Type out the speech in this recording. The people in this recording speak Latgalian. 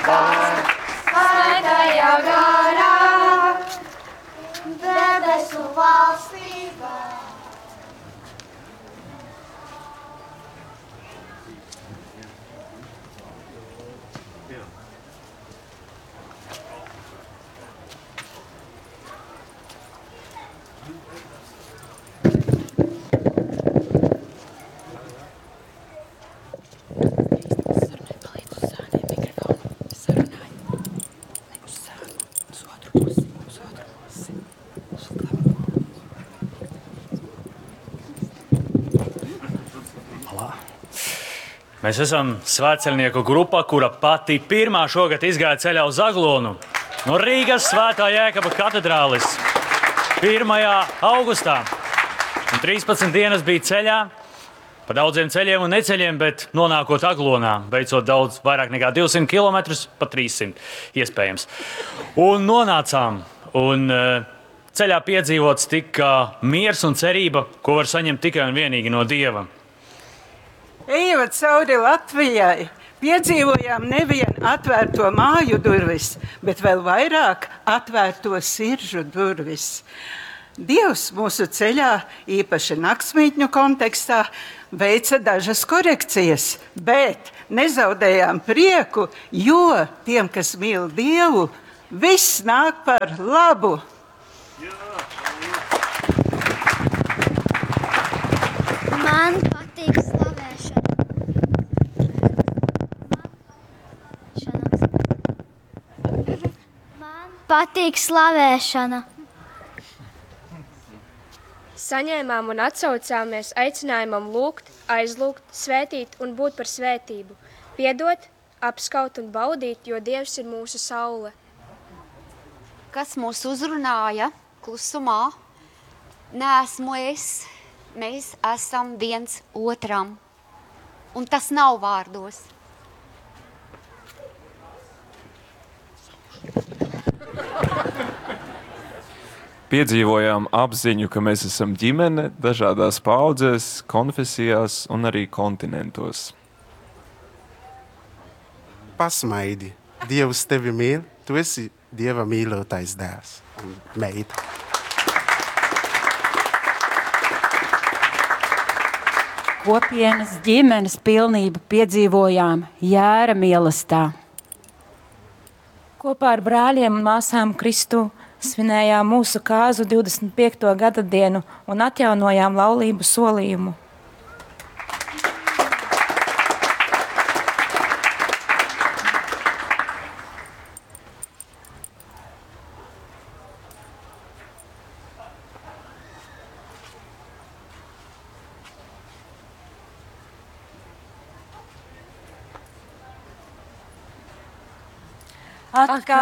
Svētajā garā, debesu valstībā. Mēs esam svētceļnieku grupa, kura pati pirmā šogad izgāja ceļā uz Aglonu no Rīgas Svētā Jēkaba katedrālis 1. augustā. Un 13 dienas bija ceļā, pa daudziem ceļiem un neceļiem, bet nonākot Aglonā, veicot daudz vairāk nekā 200 km, pa 300 iespējams. Un nonācām, un ceļā piedzīvots tika miers un cerība, ko var saņemt tikai un vienīgi no Dieva. Ejot cauri Latvijai, piedzīvojām nevien atvērto māju durvis, bet vēl vairāk atvērto siržu durvis. Dievs mūsu ceļā, īpaši naktsmītņu kontekstā, veica dažas korekcijas, bet nezaudējām prieku, jo tiem, kas mīl Dievu, viss nāk par labu. Man patīk slavēšana. Man patīk slavēšana. Saņēmām un atsaucāmies aicinājumam lūgt, aizlūgt, svētīt un būt par svētību, piedot, apskaut un baudīt, jo Dievs ir mūsu saule. Kas mūs uzrunāja klusumā? Neesmu es, mēs esam viens otram. Un tas nav vārdos. Piedzīvojām apziņu, ka mēs esam ģimene dažādās paaudzēs, konfesijās un arī kontinentos. Pasmaidi. Dievs tevi mīl, tu esi Dieva mīļotais dēls un meita. Kopienas ģimenes pilnību piedzīvojām Jēra mielastā. Kopā ar brāļiem un māsām Kristu svinējām mūsu kāzu 25. gada dienu un atjaunojām laulību solījumu. Atkal